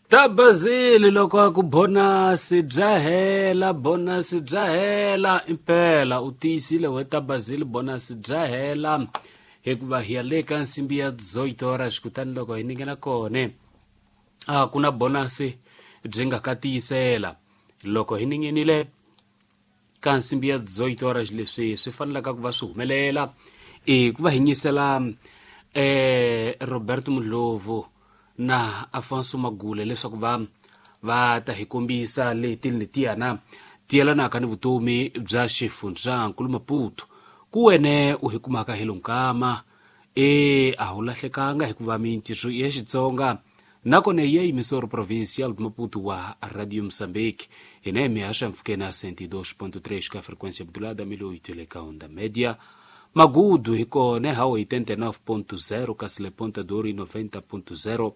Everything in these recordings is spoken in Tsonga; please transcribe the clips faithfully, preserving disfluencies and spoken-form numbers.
Tabazili loko a ku bonasi bya hela, bonasi bya hela impela u tiyisile we Tabazili, bonasi bya hela hikuva hi ya le ka nsimbi ya dezoito horas, kutani loko hi ningena kone a ku na bonasi byi nga ka tiyisela. Loko hi ningenile ka nsimbi ya dezoito horas, leswi swi fanelaka ku va swi humelela i ku va hi nyisela eh Roberto Mudlovu na Afonso Magule leswaku va va ta hi kombisa leti letiyana ti yelanaka ni vutomi bya xifundzankulu Maputo. Ku wene u hi kumaka hi lonkama e a wu lahlekanga hikuva mintirho ya Xitsonga nakona ya emissora provincial de Maputo wa Radio Moçambique hina hi mihasha mpfhukeni ya cento e dois ponto três ka frequência modulada mil e oito le ka onda média. Magudu hi kona ha oitenta e nove ponto zero kasi le Ponta do Ouro noventa ponto zero.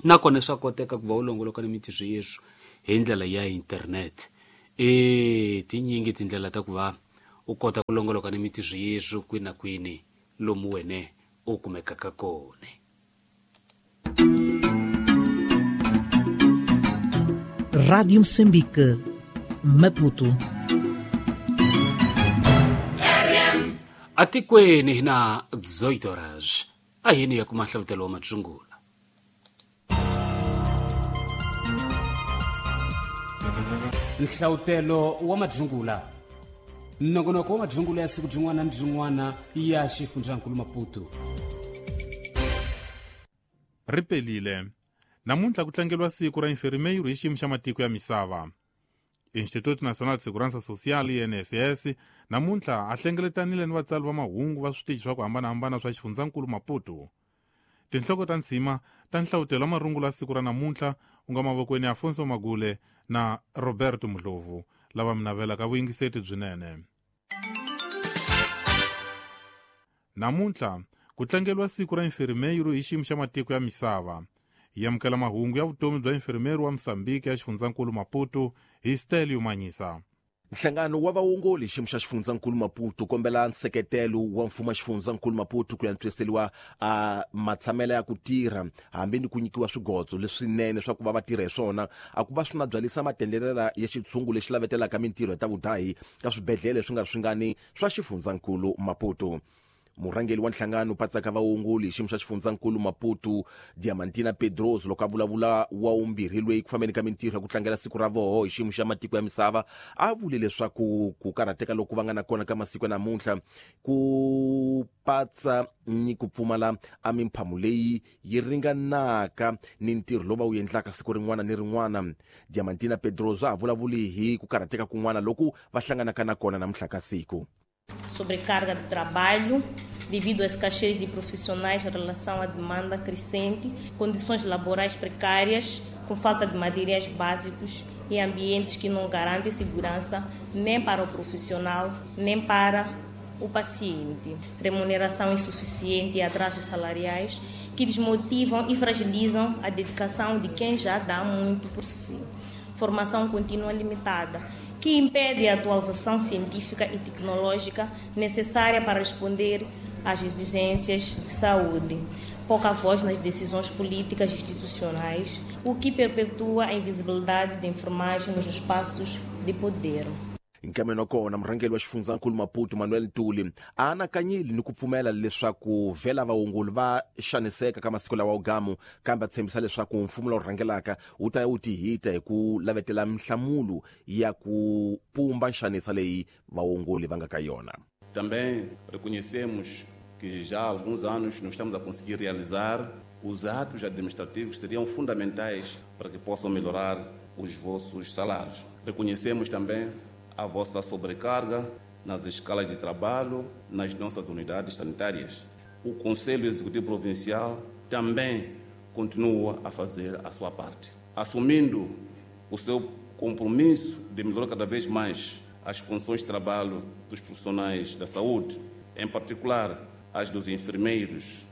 Nakona swa koteka ku va u longoloka ni mintirho yeswo hi ndlela ya internet. E tinyingi tindlela ta ku va u kota ku longoloka ni mintirho yeswo kwini na kwini lomu wene u kumekaka kona. Rádio Moçambique, Maputo. Atikweni hi na dezoito horas. A yini ya kuma hlavutelo wa madzungula. Nhlawutelo wa madzungula. Nongonoko wa madzungula ya siku byin'wana ni byin'wana ya xifundzankulu Maputo. Ri pelile. Namuntlha ku tlangeriwa siku ra infermeiro hi xiyimo xa matiko ya misava. Instituto Nacional de Segurança Social I N S S namuntlha a hlengeletanile ni vatsari va mahungu va switichi swa ku hambanahambana swa xifundzankulu Maputo. Tinhloko ta ntshima ta nhlawutelo wa marungulo ya siku ra namuntlha u nga mavokweni ya Afonso Magule na Roberto Mudlovu lava mi navelaka vuyingiseti byinene. Namuntlha ku tlangeriwa siku ra infermeiro hi xiyimo xa matiko ya misava. Hi amukela mahungu ya vutomi bya infermeiro wa Mozambique ya xifundzankulu Maputo hi Stelio Manyisa. Nhlangano wa vaongoli xiyimo xa xifundzankulu Maputo kombela nseketelo wa mfumo wa xifundzankulu Maputo ku antswiseriwa a matshamelo ya ku tirha hambi ni ku nyikiwa swigotso leswinene swa ku va va tirha hi swona a ku va swi na byalisa matendelela ya xitshungu lexi lavetelaka mintirho ya ta vudahi ka swibedhlele swi nga ri swingani swa xifundzankulu Maputo. Murhangeri wa nhlangano patsaka vaongoli xiyimo xa xifundzankulu Maputo Diamantina Pedroso loko a vulavula wa umbirhi loyi ku fambeni ka mintirho ya ku tlangela siku ra voho hi xiyimo xa matiko ya misava a vule leswaku ku karhateka loku va nga na kona ka masiku ya namuntlha ku patsa ni ku pfumala a mimphamo leyi yi ringanaka ni ntirho lowu va wu endlaka siku rin'wana ni rin'wana. Diamantina Pedroso a vulavuli hi ku karhateka kun'wana loku va hlanganaka na kona namuntlha ka siku. Sobrecarga de trabalho devido à escassez de profissionais em relação à demanda crescente, condições laborais precárias, com falta de materiais básicos e ambientes que não garantem segurança nem para o profissional, nem para o paciente. Remuneração insuficiente e atrasos salariais que desmotivam e fragilizam a dedicação de quem já dá muito por si. Formação contínua limitada, que impede a atualização científica e tecnológica necessária para responder às exigências de saúde. Pouca voz nas decisões políticas e institucionais, o que perpetua a invisibilidade da enfermagem nos espaços de poder. Nkameno kona murhangeri wa xifundzankulu Maputo Manuel Ntuli a anakanyile ni ku pfumela leswaku vhela vaongoli va xaniseka ka masiku lawa ugamu, kambe a tshembisa leswaku mfumo lowu rhangelaka wu ta ya wu tihita hi ku lavetela minhlamulo ya ku pumba nxanisa leyi vaongoli va nga ka yona. Também reconhecemos que já há alguns anos não estamos a conseguir realizar os atos administrativos que seriam fundamentais para que possam melhorar os vossos salários. Reconhecemos também a vossa sobrecarga nas escalas de trabalho, nas nossas unidades sanitárias. O Conselho Executivo Provincial também continua a fazer a sua parte, assumindo o seu compromisso de melhorar cada vez mais as condições de trabalho dos profissionais da saúde, em particular as dos enfermeiros.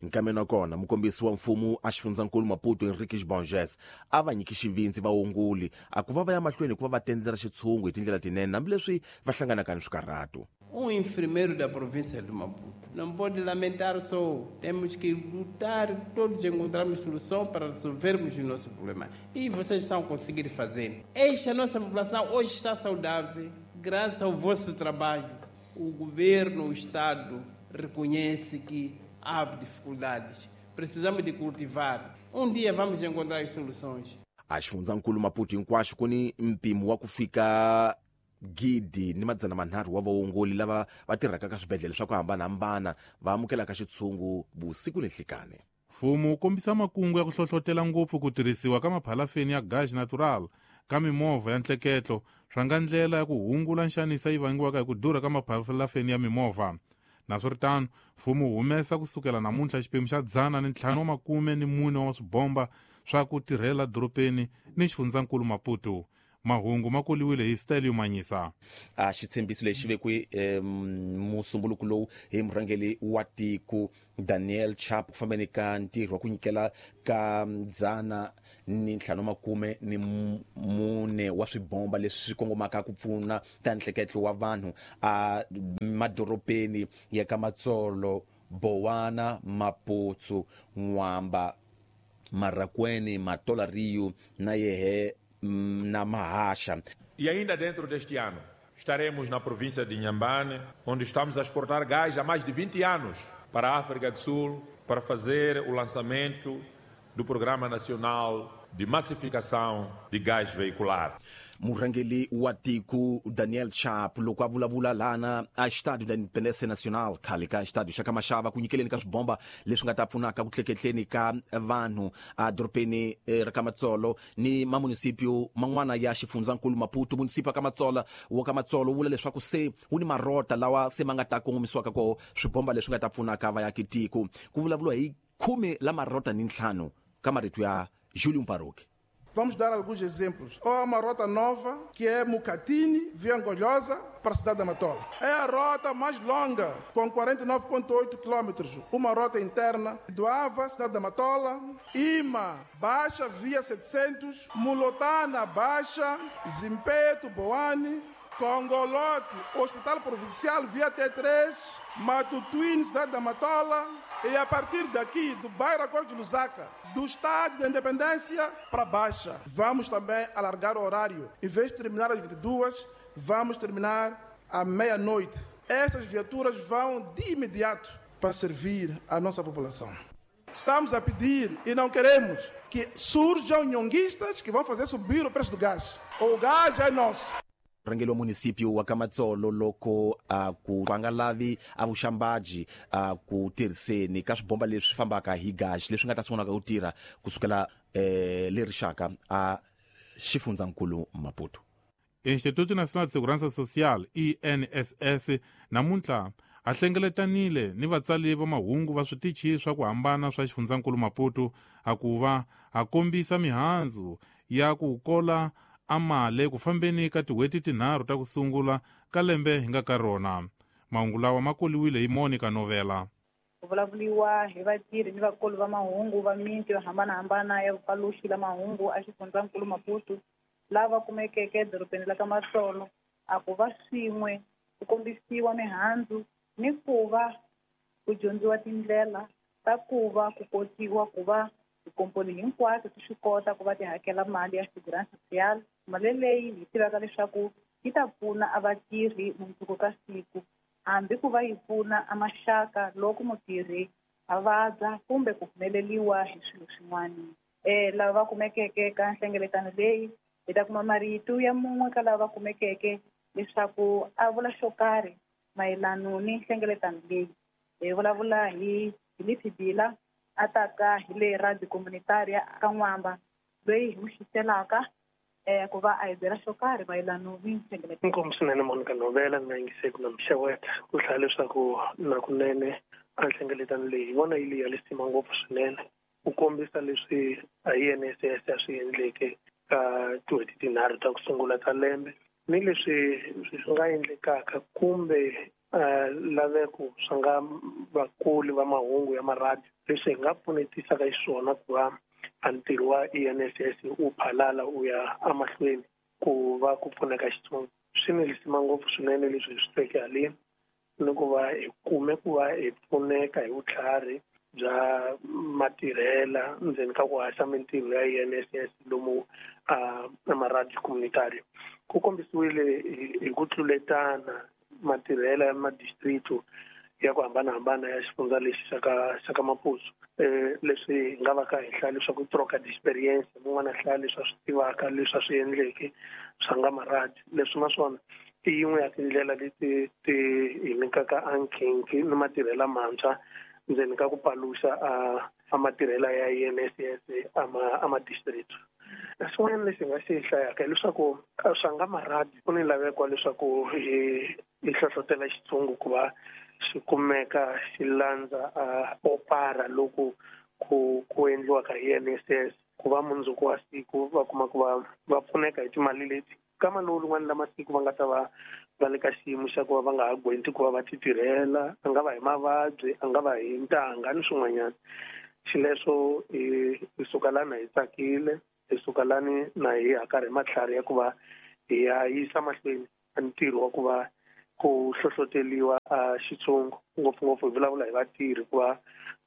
Nkameno kona mukombisi wa mfumo a xifundzankulu Maputo Henriques Borges a va nyiki xivindzi vaongoli a ku va va ya mahlweni ku va va tendlela xitshungu hi tindlela tinene hambileswi va hlanganaka ni swikarhato. Um enfermeiro da província de Maputo não pode lamentar só. Temos que lutar, todos encontrarmos solução para resolvermos o nosso problema. E vocês estão conseguindo fazer. Esta nossa população hoje está saudável, graças ao vosso trabalho. O governo, o Estado, reconhece que há dificuldades. Precisamos de cultivar. Um dia vamos encontrar as soluções. A xifundzankulu Maputo hinkwaxo ku ni mpimo wa ku fika gidi ni madzana manharhu wa vaongoli lava va tirhaka ka swibedhlele swa ku hambanahambana va amukelaka xitshungu vusiku ni nhlikani. Mfumo wu kombisa makungu ya ku hlohlotela ngopfu ku tirhisiwa ka maphalafeni ya gaz natural ka mimovha ya ntleketlo swa nga ndlela ya ku hungula nxaniso yi vangiwaka hi ku durha ka maphalafeni ya mimovha. Naswiritano, mfumo wu humesa kusukela namuntlha xiphemu xa dzana ni ntlhanu wa makume ni mune wa swibomba swa ku tirhela dorobeni ni xifundzankulu Maputo. Mahungu ma koliwile hi Stelio Manyisa. A xitshembiso lexi vekiwe musumbuluko lowu hi murhangeri wa tiko Daniel Chapo ku fambeni ka ntirho wa ku nyikela ka dzana ni ntlhanu makume ni mune wa swibomba leswi swi kongomaka ku pfuna ta nhleketlo wa vanhu a madorobeni ya ka Matsolo, Bowana, Maputsu, N'wamba, Marracuene, Matola Rio na Yehe na Mahasha. E ainda dentro deste ano, estaremos na província de Inhambane, onde estamos a exportar gás há mais de vinte anos para a África do Sul, para fazer o lançamento do Programa Nacional de Massificação de Gás Veicular. Murhangeri wa tiko Daniel Chapo loko a vulavula lana a Estádio da Independência Nacional khale ka Estádio xa ka Mashava ku nyikeleni ka swibomba leswi nga ta pfunaka ku tleketleni ka vanhu a dorobeni ra ka Matsolo ni mamunisipio man'wana ya xifundzankulu Maputo. Munisipa ka Matsolo wa ka Matsolo wu vula leswaku se wu ni marota lawa se ma nga ta kongomisiwaka koho swibomba leswi nga ta pfunaka vaaki tiko. Ku vulavuriwa hi khume la marota ni ntlhanu ka marito ya Júlio Paroque. Vamos dar alguns exemplos. Há uma rota nova, que é Mucatine, via Angolhosa, para a cidade da Matola. É a rota mais longa, com quarenta e nove vírgula oito quilômetros. Uma rota interna do Ava, cidade da Matola, Ima, Baixa, via setecentos, Mulotana, Baixa, Zimpeto, Boane, Congolote, Hospital Provincial, via T três, Matutuine, cidade da Matola, e a partir daqui, do bairro Acordo de Lusaka, do Estádio da Independência para Baixa. Vamos também alargar o horário. Em vez de terminar às vinte e duas, vamos terminar à meia-noite. Essas viaturas vão de imediato para servir a nossa população. Estamos a pedir e não queremos que surjam nhonguistas que vão fazer subir o preço do gás. O gás é nosso. Murhangeri wa munisipio wa ka Matsolo loko a ku va nga lavi a vuxambaji a ku tirhiseni ka swibomba leswi fambaka hi gasi leswi nga ta sungulaka ku tirha kusukela eh, le rixaka a xifundzankulu Maputo. Instituto Nacional de Segurança Social I N S S namuntlha a hlengeletanile ni vatsali va mahungu va switichi swa ku hambana swa xifundzankulu Maputo a ku va a kombisa mihandzu ya ku kola amale ku fambeni ka tin'hweti tinharhu ta ku sungula ka lembe hi nga ka rona. Mahungu lawa ma koliwile hi Monica Novela. Ku vulavuriwa hi vatirhi ni vakulu va mahungu va miti yo hambanahambana ya vupaluxi la mahungu a xifundzankulu Maputo lava kumekeke edorobeni la ka Matsolo a ku va swin'we ku kombisiwa mihandzu ni ku va ku dyondziwa tindlela ta ku va ku kotiwa ku va tikomponi hinkwato ti swi kota ku va ti hakela mali ya Segurança Social. Mali leyi hi tivaka leswaku yi ta pfuna a vatirhi mundzuku ka siku, hambi ku va yi pfuna a maxaka loko mutirhi a vabya kumbe ku humeleliwa hi swilo swin'wana. Um lava va kumekeke ka nhlengeletano leyi hi ta kuma marito ya mun'we ka lava va kumekeke leswaku a vula xo karhi mayelano ni nhlengeletano leyi. Hi vulavula hi Philip Bila a taka hi le Radio Comunitaria ka N'wamba loyi hi n'wi xiselaka um ku va a hi byela xo karhi mayelano ni nhlengeletano. Inkomu swinene Monica Novela ni nga yingiseki na mixeweta ku hlaya leswaku nakunene a nhlengeletano leyi hi vona yi leyi ya lisima ngopfu swinene ku kombisa leswi a I N S S a swi endleke ka tin'hweti tinharhu ta ku sungula ta lembe ni leswi swi nga endlekaka kumbe laveko swa nga vakuli va mahungu ya maradiyo leswi hi nga pfunetisaka xiswona ku va a ntirho wa I N S S wu phalala wu ya emahlweni ku va ku pfuneka xitsongo. Swi ni lisima ngopfu swinene leswi hi swi tweke haleni ni ku va hi kume ku va hi pfuneka hi vutlhari bya matirhela ndzeni ka ku haxa mintirho ya I N S S lomu a maradiyo communitario. Ku kombisiwile hi ku tluletana matirhela ya madistrito ya ku hambanahambana ya xifundza lexi xa ka xa ka Maputo. Eh leswi hi nga va ka henhla leswaku troka d'experience mun'wana hlaya leswi a swi tivaka leswi a swi endleke swa nga maradi leswi naswona i yin'we ya tindlela leti ti hi nyikaka ankhinki ni matirhela mantshwa ndzeni ka ku paluxa a a matirhela ya I N S S a ma a ma-district. Swin'wana lexi hi nga xi hlayaka hileswaku swa nga maradi ku ni laveko leswaku hi hi hlohlotela xitshungu ku va xi kumeka xi landza a opara loko ku ku endliwaka hi I N S S ku va mundzuku wa siku va kuma ku va va pfuneka hi timali leti kama lowu rin'wana la masiku va nga ta va va le ka xiyimo xa ku va va nga ha gwenti ku va va ti tirhela, a nga va hi mavabyi, a nga va hi ntanga ni swin'wanyana. Xileswo hi hi suka lana hi tsakile, hi suka lani na hi hakarhi matlhari ya ku va hi ya yisa mahlweni a ntirho wa ku va ku hlohloteliwa a xitshungu ngopfungopfu hi vulavula hi vatirhi ku va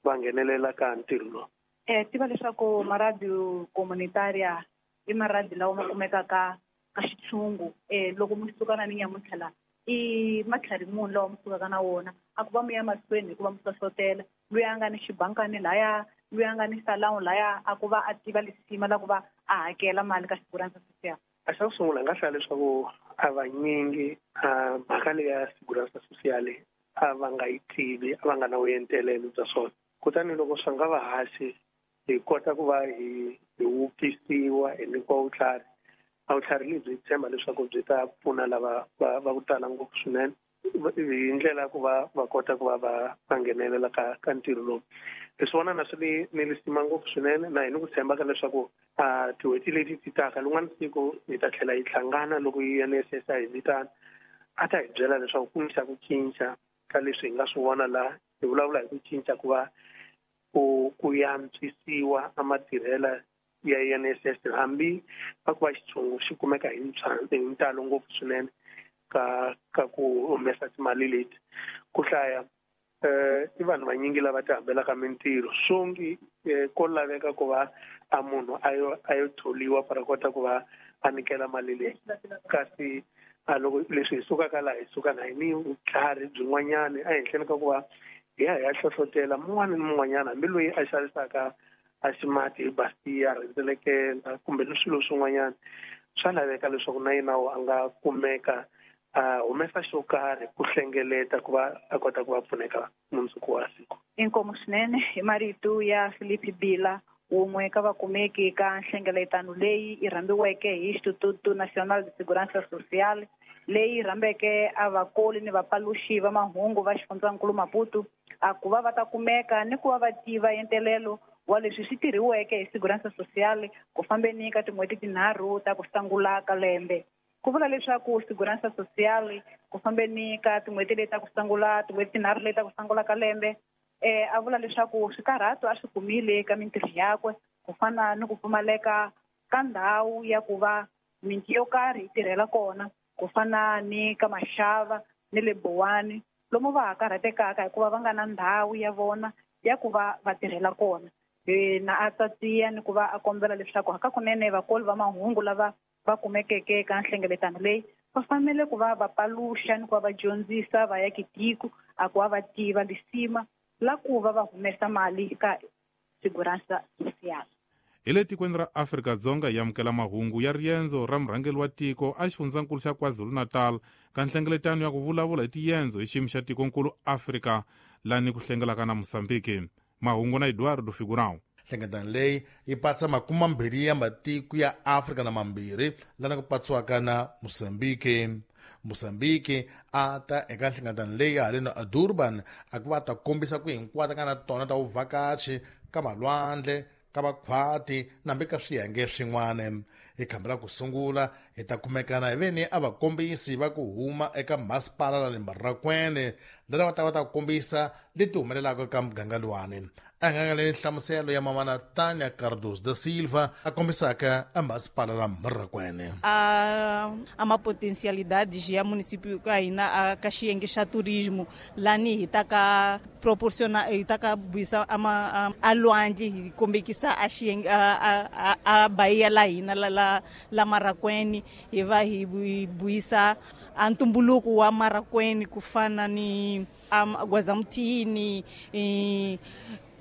va nghenelela ka ntirho lowu. Eh tiva leswaku maradiyo communitaria i maradi lawa ma kumekaka ka xitshungu eh loko mi suka na ni nyamuntlha la i matlhari munhu lawa mi sukaka na wona a ku va mi ya mahlweni hikuva mi hlohlotela loyi a nga ni xibankani laya loyi a nga ni salon laya a ku va a tiva lisima la ku va a hakela mali ka Segurança Social. A xa ku sungula nga hlaya leswaku a vanyingi a mhaka leyi ya Segurança Social a va nga yi tivi, a va nga na vuentelelo bya swona. Kutani loko swa nga va haxi hi kota ku va hi hi wupfisiwa hi nyikiwa vutlhari. A vutlhari lebyi hi tshemba leswaku byi ta pfuna lava va va ku tala ngopfu swinene hi ndlela ya ku va va kota ku va va va nghenelela ka ka ntirho lowu. Leswi vona na swi ni ni lisima ngopfu swinene na hi ni ku tshemba ka leswaku a tin'hweti leti ti taka rin'wana siku hi ta tlhela hi hlangana loko I N S S a hi vitana a ta hi byela leswaku ku ni xa ku cinca ka leswi hi nga swi vona laha hi vulavula hi ku cinca ku va ku ku antswisiwa a matirhela ya I N S S hambi va ku va xitshungu xi kumeka hi hi ntalo ngopfu swinene ka ka ku humesa timali leti. Ku hlaya eh i vanhu vanyingi lava ti hambelaka mintirho swongi ko laveka ku va a munhu a yo a yo tholiwa para kota ku va a nyikela mali leyi kasi a loko leswi hi sukaka laha hi suka na hi ni vutlhari byin'wanyana ehenhleni ka ku va hi ya hi ya hlohlotela mun'wana ni mun'wanyana hambi loyi a xavisaka a ximati hi Bastia rhendzelekela kumbe ni swilo swin'wanyana swa laveka leswaku na yena a nga kumeka a humesa xo karhi ku hlengeleta ku va a kota ku va pfuneka mundzuku wa siku. Inkomu swinene hi marito ya Filipe Bila wun'we ka vakumeki ka nhlengeletano leyi yi rhambiweke hi Instituto Nacional de Segurança Social leyi rhambeke a vakoli ni vapaluxi va mahungu va xifundzankulu Maputo a ku va va ta kumeka ni ku va va tiva entelelo wa leswi swi tirhiweke hi Segurança Social ku fambeni ka tin'hweti tinharhu ta ku sungula ka lembe. Ku vula leswaku Segurança Social ku fambeni ka tin'hweti leti ta ku sungula tin'hweti tinharhu leti ta ku sungula ka lembe eh a vula leswaku swikarhato a swi kumile eka mintirho yakwe ku fana ni ku pfumaleka ka ndhawu ya ku va miti yo karhi yi tirhela kona ku fana ni ka Maxava ni le Bowani lomu va ha karhatekaka hikuva va nga na ndhawu ya vona ya ku va va tirhela kona. Na a tsatsiya ni ku va a kombela leswaku hakakunene vakoli va mahungu lava va kumekeke eka nhlengeletano leyi va fanele ku va va paluxa ni ku va va dyondzisa vaakitiko a ku va va tiva lisima la ku va va humesa mali ka Segurança Social. Hi le tikweni ra Afrika-Dzonga hi amukela mahungu ya riendzo ra murhangeri wa tiko a xifundzankulu xa KwaZulu-Natal ka nhlengeletano ya ku vulavula hi tiendzo hi xiyimo xa tikonkulu Afrika lani ku hlengelaka na Mozambique. Mahungu na Eduardo Figurão. Nhlengeletano leyi yi patsa makume mambirhi ya matiko ya Afrika na mambirhi lana ku patsiwaka na Mozambique. Mozambique a ta eka nhlengeletano leyi haleno a Durban a ku va ta kombisa ku hinkwato ka na tona ta vuvhakachi ka malwandle ka makhwati nambi ka swiyenge swin'wana. Hi khamba ra ku sungula hi ta kumekana hi veni a vakombisi va ku huma eka masipala la le Marrakwene lana va ta va ta kombisa leti humelelaka ka muganga luwani. A nga le nhlamuselo ya mamana Tânia Cardoso da Silva a kombisaka a masipala la Marracuene. A uma potencialidade ya município ka hina a ka xiyenge xa turismo lani hi ta ka proporciona hi ta ka vuyisa ama a lwandle hi kombekisa a xiyenge a a Bahia la hina la la la Marracuene hi va hi vuyisa a ntumbuluko wa Marracuene ku fana ni Gwazamutini,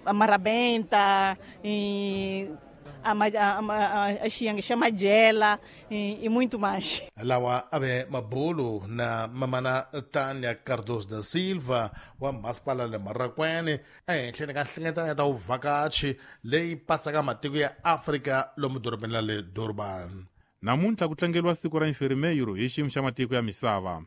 Marabenta, a xiyenge xa Majela e muito mais. Lawa ave mabulu na mamana Tânia Cardoso da Silva wa masipala le Marracuene ehenhleni ka nhlengeletano ya ta vuvhakachi leyi patsaka matiko ya Afrika lomu dorobeni la le Durban. Namuntlha ku tlangeriwa siku ra infermeiro hi xiyimo xa matiko ya misava.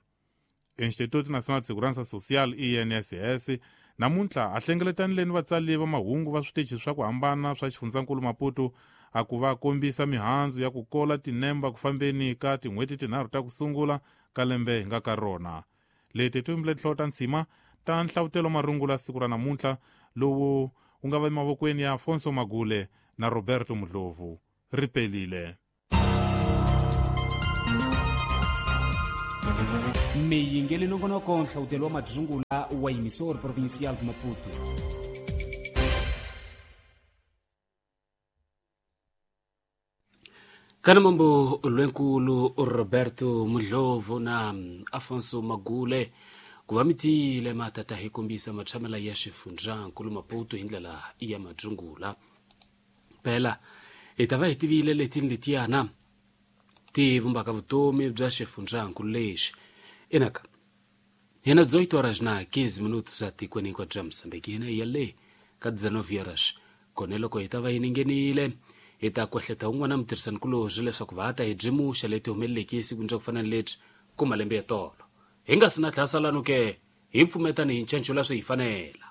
Instituto Nacional de Segurança Social I N S S namuntlha a hlengeletanile ni vatsali va mahungu va switichi swa ku hambana swa xifundzankulu Maputo a ku va kombisa mihandzu ya ku kola tinemba ku fambeni ka tin'hweti tinharhu ta ku sungula ka lembe hi nga ka rona. Leti timbile tinhloko ta ntshima ta nhlavutelo marungula siku ra namuntlha lowu wu nga va emavokweni ya Afonso Magule na Roberto Mudlovu. Ri pelile. Miyingeli nongonoko nhlawutelo wa madzungula wa emissor provincial de Maputo. Kana mambo lwenkulu Roberto Mudlovu na Afonso Magule ku va mitile matata hi kombisa matshamela ya xifundzankulu Maputo hi ndlela ya madzungula. Phela hi ta va hi tivile letini letiyana ti vumbaka vutomi bya xifundzankulu lexi. Enaka hina dezoito horas na quinze minutos atikweni hinkwabyo bya Mozambique hina hi ya le ka dezenove horas kone loko hi ta va hi ningenile hi ta kwehleta un'wana mutirhisanikulorhi leswaku va ta hi byimuxa leti humeleleke esikwini bya ku fana ni lebyi ku malembe ya tolo hi nga si na tlhasalano ke hi pfumetani hi ncanco la swi hi fanela.